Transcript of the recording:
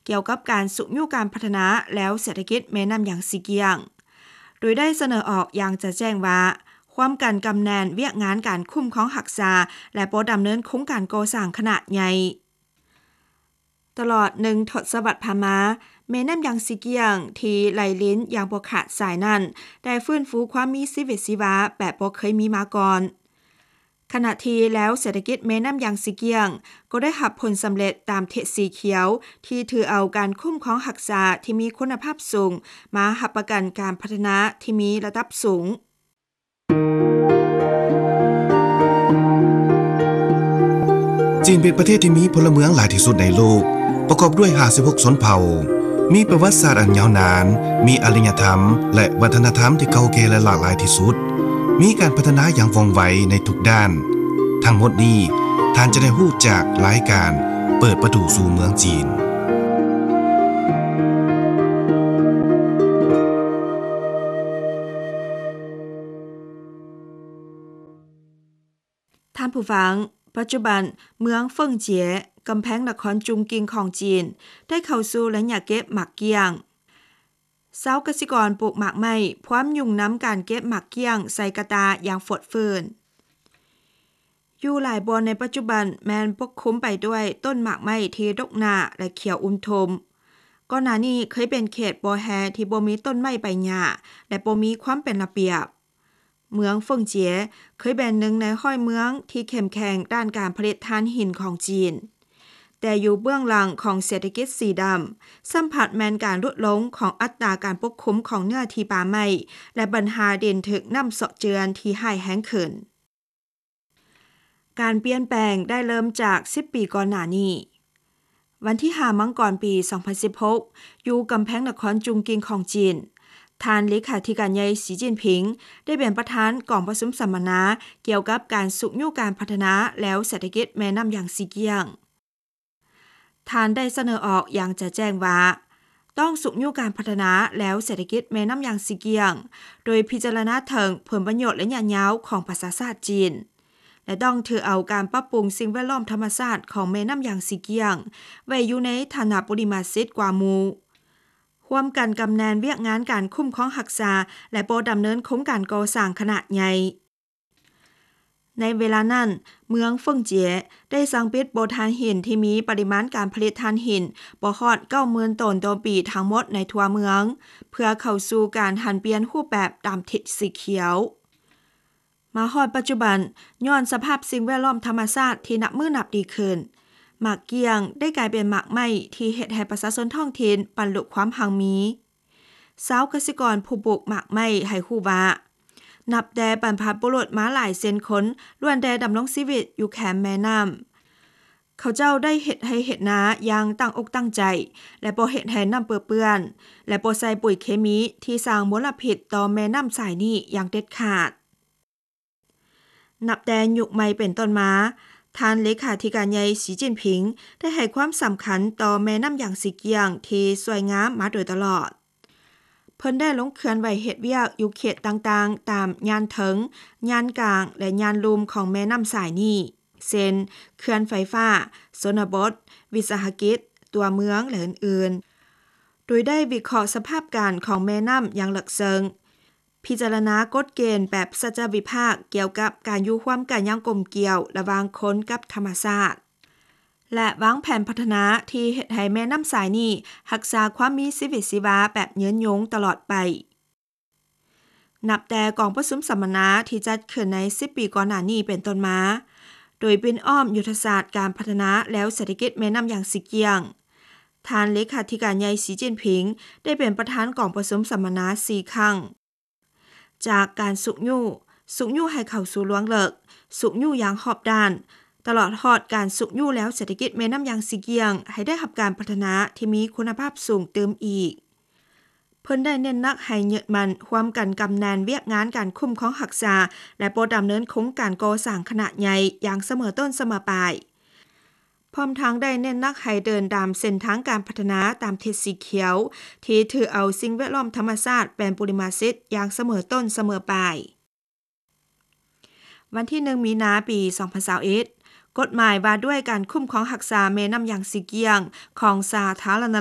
ກ່ຽວກັບການຊຸກຍູ້ການພັດທະນາ ແລວເສດຖະກິດແມ່ນ້ຳຢາງຊີກ້ຽງ, ໂດຍໄດ້ສະເໜີອອກຢ່າງຈະແຈ້ງວ່າ ຮ່ວມກັນກຳແໜ້ນວຽກງານການຄຸ້ມຄອງຮັກສາ ແລະ ບໍ່ດຳເນີນໂຄງການກໍ່ສ້າງຂະໜາດໃຫຍ່. ຕະຫຼອດໜຶ່ງທົດສະວັດຜ່ານມາ, ແມ່ນ້ຳຢາງຊີກ້ຽງທີ່ໄຫຼລິນຢ່າງບໍ່ຂາດສາຍນັ້ນ ໄດ້ຟື້ນຟູຄວາມມີຊີວິດຊີວາແບບບໍ່ເຄີຍມີມາກ່ອນ. ຂະນະທີ່ແລວເສດຖະກິດແມ່ນ້ຳຢາງຊີກ້ຽງກໍໄດ້ຮັບຜົນສຳເລັດຕາມທິດສີຂຽວ ທີ່ຖືເອົາການຄຸ້ມຄອງຮັກສາທີ່ມີຄຸນນະພາບສູງ ມາຮັບປະກັນການພັດທະນາທີ່ມີລະດັບສູງ. ຈີນເປັນປະເທດທີ່ມີພົນລະເມືອງຫຼາຍທີ່ສຸດໃນໂລກ, ປະກອບດ້ວຍຫ້າສິບຫົກຊົນເຜົ່າ, ມີປະຫວັດສາດອັນຍາວນານ, ມີອາລິຍະທຳ ແລະ ວັດທະນະທຳທີ່ເກົ່າແກ່ ແລະ ຫຼາກຫຼາຍທີ່ສຸດ, ມີການພັດທະນາຢ່າງວ່ອງໄວໃນທຸກດ້ານ. ທັງໝົດນີ້ ທ່ານຈະໄດ້ຮູ້ຈາກລາຍການເປີດປະຕູສູ່ເມືອງຈີນ. ທ່ານຜູ້ຟັງ, ປັດຈຸບັນເມືອງເຟິງເຈຍ, ກຳແພງນະຄອນຈຸງກິງຂອງຈີນ ໄດ້ເຂົ້າສູ່ໄລຍະເກັບໝາກກ້ຽງ. ຊາວກະສິກອນປູກໝາກໄມ້ ພວມຫຍຸ້ງນຳການເກັບໝາກກ້ຽງໃສ່ກະຕ່າຢ່າງຟົດຟື້ນ. ຢູ່ຫຼາຍບ່ອນໃນປັດຈຸບັນແມ່ນປົກຄຸມໄປດ້ວຍຕົ້ນໝາກໄມ້ທີ່ດົກໜາ ແລະ ຂຽວອຸມທຸ່ມ. ກ່ອນໜ້ານີ້ເຄີຍເປັນເຂດບໍ່ແຮ່ທີ່ບໍ່ມີຕົ້ນໄມ້ໃບຫຍ້າ ແລະ ບໍ່ມີຄວາມເປັນລະບຽບ. ເມືອງເຟິງເຈຍເຄີຍເປັນໜຶ່ງໃນຮ້ອຍເມືອງທີ່ເຂັ້ມແຂງດ້ານການຜະລິດຖ່ານຫີນຂອງຈີນ, ແຕ່ຢູ່ເບື້ອງຫຼັງຂອງເສດຖະກິດສີດຳ ຊ້ຳພັດແມ່ນການຫຼຸດລົງຂອງອັດຕາການປົກຄຸມຂອງເນື້ອທີ່ປ່າໄມ້ ແລະ ບັນຫາດິນຖືກນ້ຳເຊາະເຈື່ອນທີ່ຮ້າຍແຮງຂຶ້ນ. ການປ່ຽນແປງໄດ້ເລີ່ມຈາກສິບປີກ່ອນໜ້ານີ້. ວັນທີຫ້າ ມັງກອນ ປີສອງພັນສິບຫົກ ຢູ່ກຳແພງນະຄອນຈຸງກິງຂອງຈີນ, ທ່ານເລຂາທິການໃຫຍ່ ສີຈິ້ນຜິງ ໄດ້ເປັນປະທານກອງປະຊຸມສຳມະນາກ່ຽວກັບການຊຸກຍູ້ການພັດທະນາ ແລວເສດຖະກິດແມ່ນ້ຳຢາງຊີກ້ຽງ. ທ່ານໄດ້ສະເໜີອອກຢ່າງຈະແຈ້ງວ່າ ຕ້ອງຊຸກຍູ້ການພັດທະນາ ແລວເສດຖະກິດແມ່ນ້ຳຢາງຊີກ້ຽງ ໂດຍພິຈາລະນາເຖິງຜົນປະໂຫຍດໄລຍະຍາວຂອງປະຊາຊາດຈີນ ແລະ ຕ້ອງຖືເອົາການປັບປຸງສິ່ງແວດລ້ອມທຳມະຊາດຂອງແມ່ນ້ຳຢາງຊີກ້ຽງ ໄວ້ຢູ່ໃນຖານະບຸລິມະສິດກວ່າໝູ່, ຮ່ວມກັນກຳແໜ້ນວຽກງານການຄຸ້ມຄອງຮັກສາ ແລະ ບໍ່ດຳເນີນໂຄງການກໍ່ສ້າງຂະໜາດໃຫຍ່. ໃນເວລານັ້ນ, ເມືອງເຟິງເຈຍໄດ້ສັ່ງປິດບໍ່ຖ່ານຫີນທີ່ມີປະລິມານການຜະລິດຖ່ານຫີນບໍ່ຮອດເກົ້າໝື່ນໂຕນຕໍ່ປີທັງໝົດໃນທົ່ວເມືອງ, ເພື່ອເຂົ້າສູ່ການຫັນປ່ຽນຮູບແບບຕາມທິດສີຂຽວ. ມາຮອດປັດຈຸບັນ, ຍ້ອນສະພາບສິ່ງແວດລ້ອມທຳມະຊາດທີ່ນັບມື້ນັບດີຂຶ້ນ, ໝາກກ້ຽງໄດ້ກາຍເປັນໝາກໄມ້ທີ່ເຮັດໃຫ້ປະຊາຊົນທ້ອງຖິ່ນບັນລຸຄວາມຮັ່ງມີ. ຊາວກະສິກອນຜູ້ປູກໝາກໄມ້ໃຫ້ຮູ້ວ່າ, ນັບແຕ່ບັນພະບຸລຸດມາຫຼາຍເຊັ່ນຄົນ ລ້ວນແຕ່ດຳລົງຊີວິດຢູ່ແຄມແມ່ນ້ຳ. ເຂົາເຈົ້າໄດ້ເຮັດໄຮ່ເຮັດນາຢ່າງຕັ້ງອົກຕັ້ງໃຈ ແລະ ບໍ່ເຮັດໃຫ້ນ້ຳເປິເປື້ອນ ແລະ ບໍ່ໃສ່ປຸ໋ຍເຄມີທີ່ສ້າງມົນລະພິດຕໍ່ແມ່ນ້ຳສາຍນີ້ຢ່າງເດັດຂາດ. ນັບແຕ່ຍຸກໃໝ່ເປັນຕົ້ນມາ, ທ່ານເລຂາທິການໃຫຍ່ ສີຈິ້ນຜິງ ໄດ້ໃຫ້ຄວາມສຳຄັນຕໍ່ແມ່ນ້ຳຢາງຊີກ້ຽງທີ່ສວຍງາມມາໂດຍຕະຫຼອດ. ເພິ່ນໄດ້ລົງເຄື່ອນໄຫວເຮັດວຽກຢູ່ເຂດຕ່າງໆ ຕາມຍານເທິງ, ຍານກາງ ແລະ ຍານລຸ່ມຂອງແມ່ນ້ຳສາຍນີ້, ເຊັ່ນ ເຂື່ອນໄຟຟ້າ, ຊົນນະບົດ, ວິສາຫະກິດ, ຕົວເມືອງ ແລະ ອື່ນໆ, ໂດຍໄດ້ວິເຄາະສະພາບການຂອງແມ່ນ້ຳຢ່າງເລິກເຊິ່ງ. ພິຈາລະນາກົດເກນແບບສັດຈະວິພາກກ່ຽວກັບການຢູ່ຮ່ວມກັນຢ່າງກົມກຽວລະຫວ່າງຄົນກັບທຳມະຊາດ ແລະ ວາງແຜນພັດທະນາທີ່ເຮັດໃຫ້ແມ່ນ້ຳສາຍນີ້ຮັກສາຄວາມມີຊີວິດຊີວາແບບຍືນຍົງຕະຫຼອດໄປ. ນັບແຕ່ກອງປະຊຸມສຳມະນາທີ່ຈັດຂຶ້ນໃນສິບປີກ່ອນໜ້ານີ້ເປັນຕົ້ນມາ, ໂດຍປິ່ນອ້ອມຍຸດທະສາດການພັດທະນາ ແລວເສດຖະກິດແມ່ນ້ຳຢາງຊີກ້ຽງ, ທ່ານເລຂາທິການໃຫຍ່ ສີຈິ້ນຜິງ ໄດ້ເປັນປະທານກອງປະຊຸມສຳມະນາສີ່ຄັ້ງ. ຈາກການຊຸກຍູ້, ຊຸກຍູ້ໃຫ້ເຂົ້າສູ່ລວງເລິກ, ຊຸກຍູ້ຢ່າງຮອບດ້ານ, ຕະຫຼອດຮອດການຊຸກຍູ້ແລວເສດຖະກິດແມ່ນ້ຳຢາງຊີກ້ຽງໃຫ້ໄດ້ຮັບການພັດທະນາທີ່ມີຄຸນນະພາບສູງຕື່ມອີກ. ເພິ່ນໄດ້ເນັ້ນໜັກໃຫ້ຍຶດໝັ້ນຮ່ວມກັນກຳແໜ້ນວຽກງານການຄຸ້ມຄອງຮັກສາ ແລະ ບໍ່ດຳເນີນໂຄງການກໍ່ສ້າງຂະໜາດໃຫຍ່ຢ່າງສະເໝີຕົ້ນສະເໝີປາຍ. ພ້ອມທັງໄດ້ເນັ້ນໜັກໃຫ້ເດີນຕາມເສັ້ນທາງການພັດທະນາຕາມທິດສີຂຽວ ທີ່ຖືເອົາສິ່ງແວດລ້ອມທຳມະຊາດເປັນບຸລິມະສິດຢ່າງສະເໝີຕົ້ນສະເໝີປາຍ. ວັນທີໜຶ່ງ ມີນາ ປີສອງພັນຊາວເອັດ, ກົດໝາຍວ່າດ້ວຍການຄຸ້ມຄອງຮັກສາແມ່ນ້ຳຢາງຊີກ້ຽງຂອງສາທາລະນະລັດ